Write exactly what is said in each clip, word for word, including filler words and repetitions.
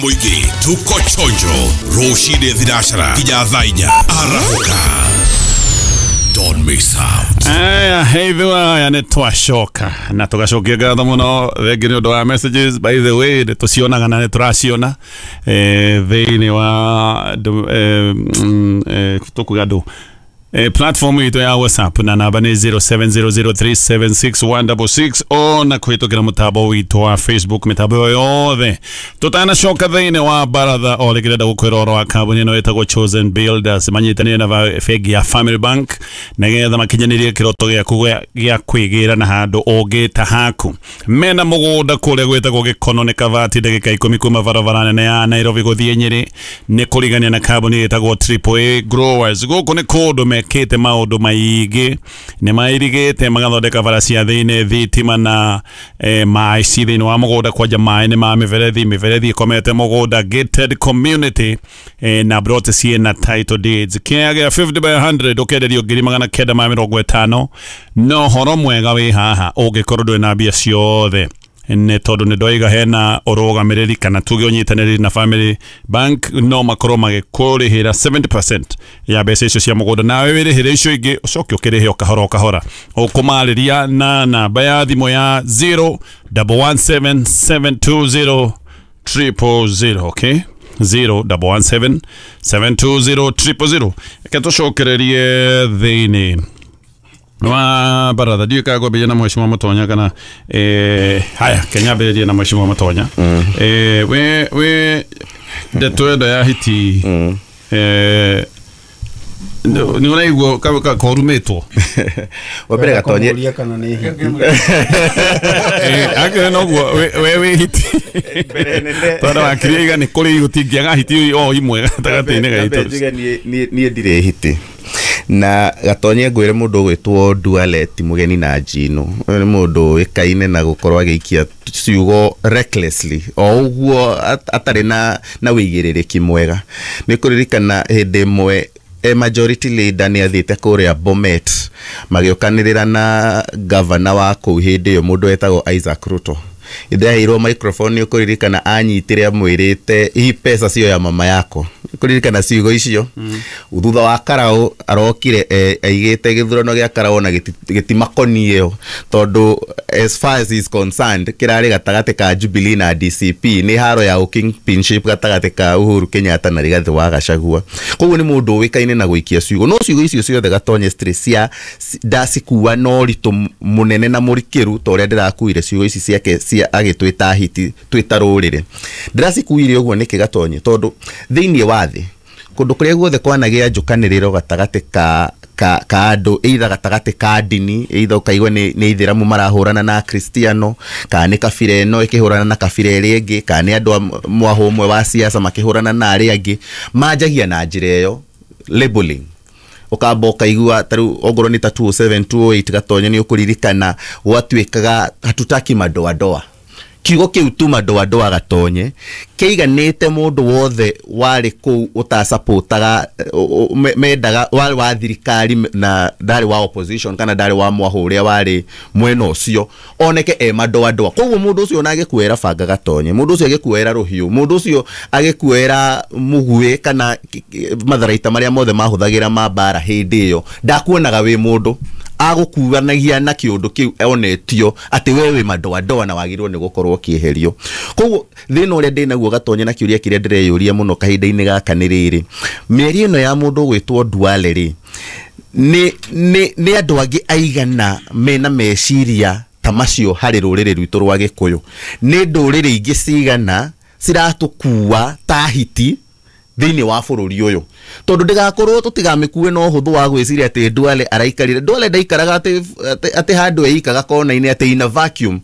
Mũingĩ tuko chonjo rũcinĩ thinacara nginya thaa inya arahũka. Don't miss out. Aya, heithua aya nĩ twacoka na tũgacokia ngatho mũno thengi nĩ ũndũ wa messages. By the way, nĩ tũcionaga na nĩ tũraciona eh, thĩinĩ wa ndũ- eh, mm, eh, tũkuga ndũ eh, platform itũ ya WhatsApp na namba nĩ zero seven zero zero three seven six one six six ona kũhĩtũkĩra mũtambo witũ wa Facebook, mĩtambo ĩyo yothe. Tũtanacoka thĩinĩ wa baratha o rĩngĩ, ndĩrenda gũkwĩra ũhoro wa kambuni ĩno ĩtagwo Chosen Builders, manyitanĩire na ba- bengi ya Family Bank nĩgetha makinyanĩrie kĩroto gĩaku gĩa- gĩa kwĩgĩra na handũ ũngĩta haku. Mena mũgũnda kũrĩa gwĩtagwo Gĩkono, nĩ Kabati, ndagĩka ikũmi kuma barabara nene ya Nairobi gũthiĩ Nyĩrĩ, nĩ kũrigania na kambuni ĩtagwo Triple A Growers. Gũkũ nĩ kũndũ mekĩte maũndũ maingĩ, nĩ mairigĩte magathondeka bara cia thĩinĩ, thitima na eh, maĩ ci thĩinĩ wa mũgũnda, kwanja maĩ nĩ ma mĩberethi, mĩberethi ĩkomete mũgũnda, gated community eh, na plot ciĩna title deeds. Kĩaya gĩa fifty by one hundred ũkenderio ngiri magana kenda ma mĩrongo ĩtano. No horo mwega wĩ haha, ũngĩkorwo ndũrĩ na mbia ciothe, nĩ tondũ nĩ ndoiga hena ũrũgamĩrĩri kana tuge ũnyitanĩri na Family Bank, no makorwo magĩkũrĩhĩra seventy percent ya mbeca icio cia mũgũnda, nawe wĩrĩhĩre icio ingĩ, ũcoke ũkĩrĩhe o kahora o kahora. Ũkũmarĩria na namba ya thimũ ya zero one one seven seven two zero triple zero, okay, zero one one seven seven two zero triple zero. Reke tũcokererie thĩinĩ wa baratha. Ndiũĩ kana ngwambĩrĩria na mheshimiwa Mũtonya kana eh, haya, kenya mbĩrĩrie na mheshimiwa Mũtonya. eh, we we ndeto ĩno ya hiti eh, nĩ ũraigua ka- ka- korumĩtwo? Wa mbere, Gatonye. Kũmũria kana nĩ hiti. Akĩrĩ noguo we we wĩ hiti, tondũ wakirie iga nĩ kũrĩ gũtingĩaga hiti o imwe gatagatĩ-inĩ Nyambe gaitũ. njuge niĩ- niĩ niĩ ndirĩ hiti. Na Gatonye, ngwĩre mũndũ ũgwĩtwo Duale ti mũgeni na njino. Ũyũ nĩ mũndũ ũĩkaine na gũkorwo agĩikia ciugo recklessly o ũguo at- atarĩ na na wĩigĩrĩrĩki mwega. Nĩ kũririkana hĩndĩ ĩmwe e majority leader nĩ athiĩte kũrĩa Bomet, magĩũkanĩrĩra na gavana wa kũu hĩndĩ ĩyo, mũndũ wetagwo Isaac Ruto. Hĩndĩ aheirwo microphone, nĩ ũkũririkana anyitire amwĩrĩte, "Hii pesa sio ya mama yako." Kũririkana ciugo icio mm. Thutha wa Karau arokire eh, aigĩte gĩthurano gĩa Karau na gĩti- gĩtimakoniĩ ĩyo, tondũ as far as he is concerned, kĩrarĩ gatagatĩ ka Jubilee na D C P, nĩ haro ya kingpinship gatagatĩ ka Uhuru Kenyatta na Rigathĩ wa Gachagua. Koguo nĩ mũndũ ũĩkaine na gũikia ciugo, no ciugo icio ciothe, Gatonye, citirĩ cia ndacikua na ũritũ mũnene na mũrikĩru ta ũrĩa ndĩrakuire ciugo ici ciake cia agĩtwĩta hiti, twĩta rũrĩrĩ. Ndĩracikuire ũguo nĩkĩ, Gatonye? Tondũ thĩinĩ wa thĩ, kũndũ kũrĩa guothe kwanagĩa njũkanĩrĩro gatagatĩ ka ka ka andũ, either gatagatĩ ka ndini, either ũkaigua nĩ nĩ ithĩramu marahũrana na akristiano, kana nĩ kabira ĩno ĩkĩhũrana na kabira ĩrĩa ĩngĩ, kana nĩ andũ a mwahũ ũmwe wa siasa makĩhũrana na arĩa angĩ, manjagia na njĩra ĩyo, labeling. Ũkamba ũkaigua tarĩu ongorwo nĩ ta two oh seven two oh eight, Gatonye, nĩ ũkũririkana gwatuĩkaga "hatutaki madoadoa". Kiugo kĩu tu "madoadoa", Gatonye, kĩiganĩte mũndũ wothe warĩ kũu ũtacapotaga mendaga warĩ wa thirikari na ndarĩ wa opposition kana ndarĩ wa mwahũ ũrĩa warĩ mwena ũcio oneke e madoadoa. Koguo mũndũ ũcio ona agĩkuoera banga, Gatonye, mũndũ ũcio agĩkuoera rũhiũ, mũndũ ũcio agĩkuoera mũguĩ kana ki- ki- matharaita marĩa mothe mahũthagĩra ma mbara hĩndĩ ĩyo, ndakuonaga wĩ mũndũ, agũkuanagia na kĩũndũ kĩu onetio atĩ we wĩ madoadoa na wagĩrĩirwo nĩ gũkorwo ũkĩeherio. Koguo thĩna ũrĩa ndĩ naguo, Gatonye, na kĩũria kĩrĩa ndĩreyũria mũno kahinda-inĩ gaka nĩ rĩrĩ: mĩario ĩno ya mũndũ ũgwĩtwo Duale rĩ, nĩ nĩ nĩ andũ angĩ aigana mena meciria ta macio harĩ rũrĩrĩ rwitũ rwa Gĩkũyũ? Nĩ ndũrĩrĩ ingĩ cigana ciratũkua ta hiti thĩinĩ wa bũrũri ũyũ? Tondũ ndĩgakorwo tũtigamĩkue na ũhũthũ wa gwĩciria atĩ Duale araikarire. Duale ndaikaraga atĩ atĩ- atĩ handũ eikaga kona-inĩ, atĩ in a vacuum.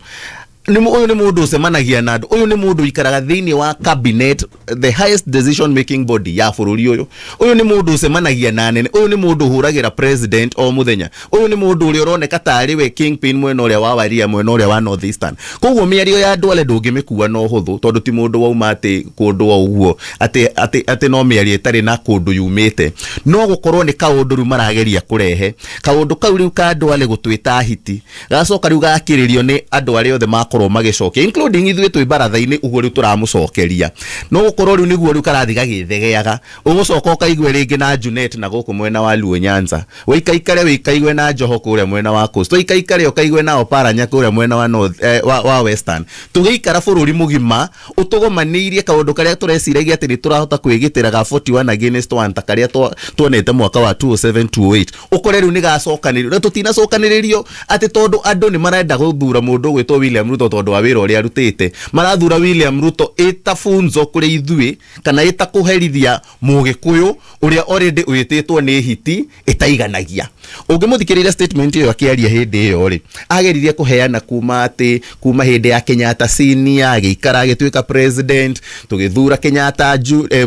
Nĩ mũ- ũyũ nĩ mũndũ ũcemanagia na andũ, ũyũ nĩ mũndũ ũikaraga thĩinĩ wa cabinet, the highest decision making body ya bũrũri ũyũ. Ũyũ nĩ mũndũ ũcemanagia na anene, ũyũ nĩ mũndũ ũhũragĩra president o mũthenya, ũyũ nĩ mũndũ ũrĩa ũroneka tarĩ we kingpin mwena ũrĩa wa Waria, mwena ũrĩa wa North Eastern. Koguo mĩario ya Duale ndũngĩmĩkua na ũhũthũ, tondũ ti mũndũ wauma atĩ kũndũ o ũguo, atĩ atĩ atĩ no mĩario ĩtarĩ na kũndũ yumĩte. No gũkorwo nĩ kaũndũ rĩu marageria kũrehe, kaũndũ kau rĩu ka Duale gũtwĩta hiti, gacoka rĩu gakĩrĩrio nĩ andũ arĩa othe marakorwo magĩcokia, including ithuĩ twĩ baratha-inĩ ũguo rĩu tũramũcokeria. No gũkorwo rĩu nĩguo rĩu karathi gagĩthegeaga, ũgũcoka ũkaigue rĩngĩ na Junet na gũkũ mwena wa Luo Nyanza, wĩikaikare wĩkaigue na Joho kũrĩa mwena wa Coast, wĩikaikare ũkaigue na Oparanya kũrĩa mwena wa North, eh, wa, wa Western. Tũgĩikara bũrũri mũgima ũtũgomanĩirie kaũndũ karĩa tũreciragia atĩ nĩ tũrahota kwĩgitĩra ga forty-one against one, ta karĩa twa- tuonete mwaka wa two oh seven two oh eight, ũkore rĩu nĩ gacokanĩrĩrio na tũtinacokanĩrĩrio atĩ tondũ andũ nĩ marenda gũthura mũndũ ũgwĩtwo William Ruto tondũ wa wĩra ũrĩa arutĩte. Marathura William Ruto ĩta funzo kũrĩ ithuĩ kana ĩta kũherithia mũgĩkũyũ ũrĩa already wĩtĩtwo nĩ hiti ĩtaiganagia. Ũngĩmũthikĩrĩria statement ĩyo akĩaria hĩndĩ ĩyo rĩ, ageririe kũheana kuma atĩ kuma hĩndĩ ya Kenyatta senior agĩikara agĩtuĩka president, tũgĩthura Kenyatta ju, eh,